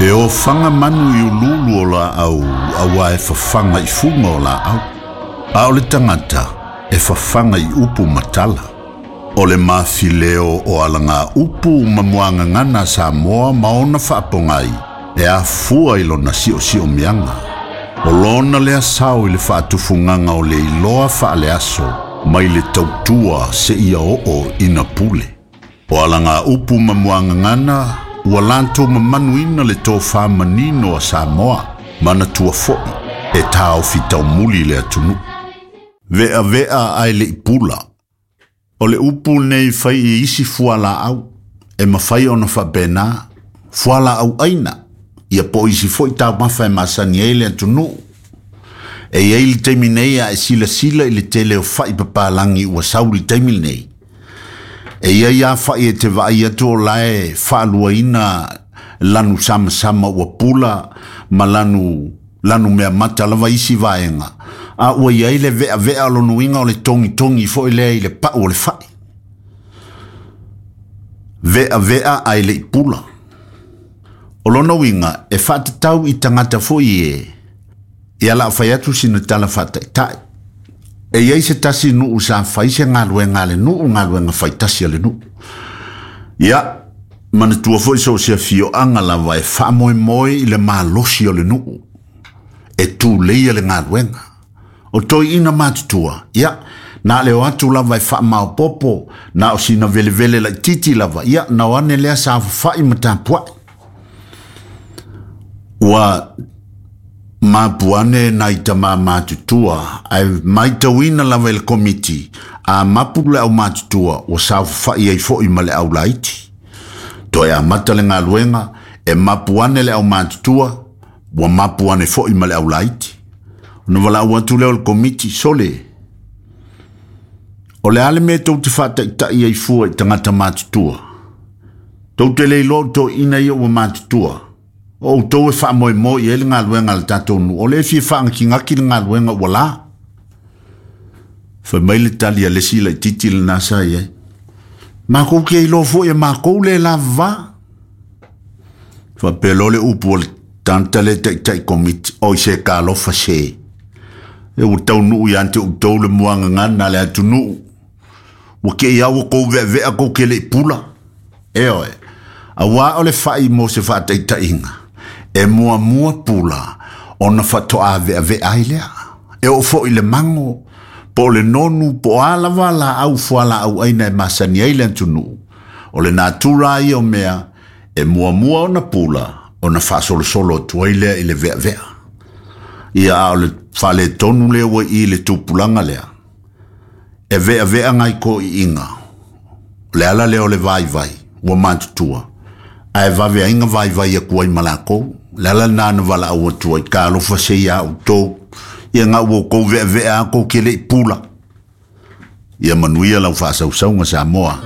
E ofaga manu i uluulu o laau auā e fafaga i fuga o laau, a o le tagata e fafaga i upu ma tala. O le mafileo o alagaupu ma muagagana a Samoa ma ona faapogai e afua i lona siosiomiaga. O lona lea sao i le faatufugaga o le iloa faaleaso mai le tautua seia oo ina pule. O alagaupu ma muagagana ua latou mamanuina le tofa manino a Samoa, manatua foi e taofi taumuli le atunuu. Ve'ave'a ae le'i pula. O le upu lenei fai i isi fualaau e mafai ona faapena, fualaau aina, ia po o isi foi taumafa e masani ai le atunuu. E i ai le taimi nei a e silasila i le tele o fa'i papalagi ua sau i le taimi lenei, E i ai lava fa'i e te vaai atu o la e faaluaina lanu samasama ua pula ma lanu lanu meamata lava isi vaega, a ua i ai le ve'ave'a o lona uiga o le togitogi foi lea i le pa'u o le fa'i. Ve'ave'a ae le i pula. O lona uiga e faatatau i tagata foi e Ia la fai atu sina tala faataitai. E i ai se tasi nuu sa fai se galuega a le nuu, galuega faitasi a le nuu. Ia, manatua foi so o se afioaga lava e faamoemoe i le malosi o le nuu e tuleia le galuega. O toeaiina matutua, ia, na o le o atu lava e faamaopoopo, na o sina velevele laitiiti lava, ia, na o ane lea saofafai ma tapuai. Ua mapu ane nai tama matutua, ae matauina lava e le Komiti, a mapu le aumatutua ua saofafai ai foi ma le aulaiti. Toe amata le galuega, e mapu ane le aumatutua, ua mapu ane foi ma le aulaiti. Ona valaau atu lea o le Komiti, Sole, o le a le mea tou te faataitai ai fua i tagata matutua? Tou te le iloa o toeaiina ia ua matutua. O outou e faamoemoe i ai le galuega a le tatou nuu, o lea e fia faagatigati le galuega ua la. Fai mai le tali a le isi laitiiti lena sa i ai, Makou ke iloa foi e makou le lavava. Faapea loa le upu a le tagata lea taitai komiti, Oi se talofa se, e ua taunuu ia te outou le muagagana a le atunuu. Ua kei lava ua tou veavea tou te le i pula. Ioe, auā o le fai mo se faataitaiga, e muamua pula ona faatoa veavea ai lea. E oo foi i le mago, po o le nonu, po o a lava laau fualaauaina e masani ai le atunuu, o le natura lava ia o mea e muamua ona pula ona faasolosolo atu ai lea i le veavea. Ia, a o le faaletonu lea ua i i le tupulaga lea, E veavea nai toeaiina, o le ala lea o le vaivai, ua matutua, ae vave ai na vaivai atu ai ma latou. O le ala lena na valaau atu ai, talofa se iā outou, ia na ua outou veavea lava tou te le i pula. Ia manuia lau faasausauga Samoa.